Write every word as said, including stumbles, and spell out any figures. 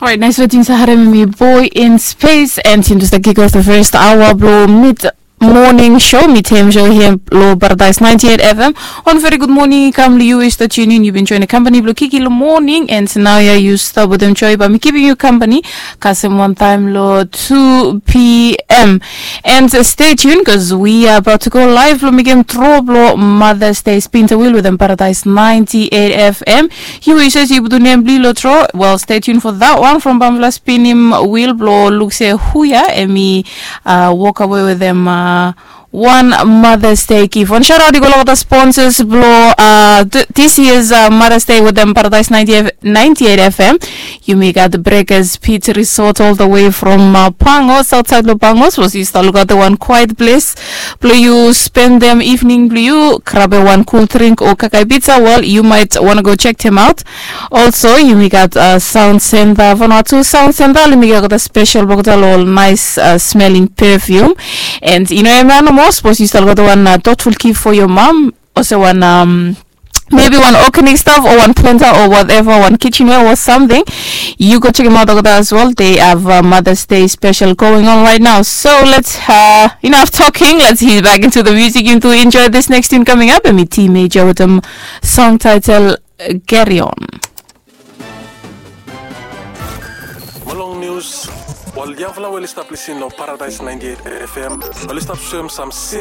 Alright, nice wetin sa harem mi boy in space and him just kick off the first hour blo mid morning show, mid time show here lo Paradise ninety-eight F M. On very good morning, kam lo you is the tune in. You've been joining company blo Kiki lo morning and now ya you stop with them joy by me keeping you company. Kasem one time lo two p.m. And uh, stay tuned because we are about to go live lo mekem tro blo Mother's Day spin the wheel with them Paradise ninety-eight F M. Yu wishes yu butu nem bli lo tro. Well, stay tuned for that one from Bamfala Spinim Will blo luk se huya emi uh, walk away with them uh, one Mother's Day gift. One shout out i go lo the sponsors blo uh, th- this year's uh, Mother's Day with them Paradise ninety, ninety-eight F M. Yumi gat Breakers Pit Resort all the way from uh, Pangos, outside lo Pangos. Was yu stap lukautem wan quiet place blo yu spendem evening blo yu, grabem wan cool drink o kakai pizza, well, you might wanna go check them out. Also, yumi gat uh, Sound Center, Vanuatu Sound Center, yumi gat a special bokta lo ol nice uh, smelling perfume. And you know, emia nomo, suppose yu stap lukautem wan uh, thoughtful gift for your mom, also wan um, maybe one organic stuff or one planter or whatever, one kitchenware or something. You go check them out over there as well. They have a Mother's Day special going on right now. So let's, uh, enough talking. Let's head back into the music. You to enjoy this next tune coming up. And me T Major with a song title uh, Carry On. Molong News. Ol yangfala we oli stap lisin lo Paradise ninety-eight F M, oli stap soem sam sin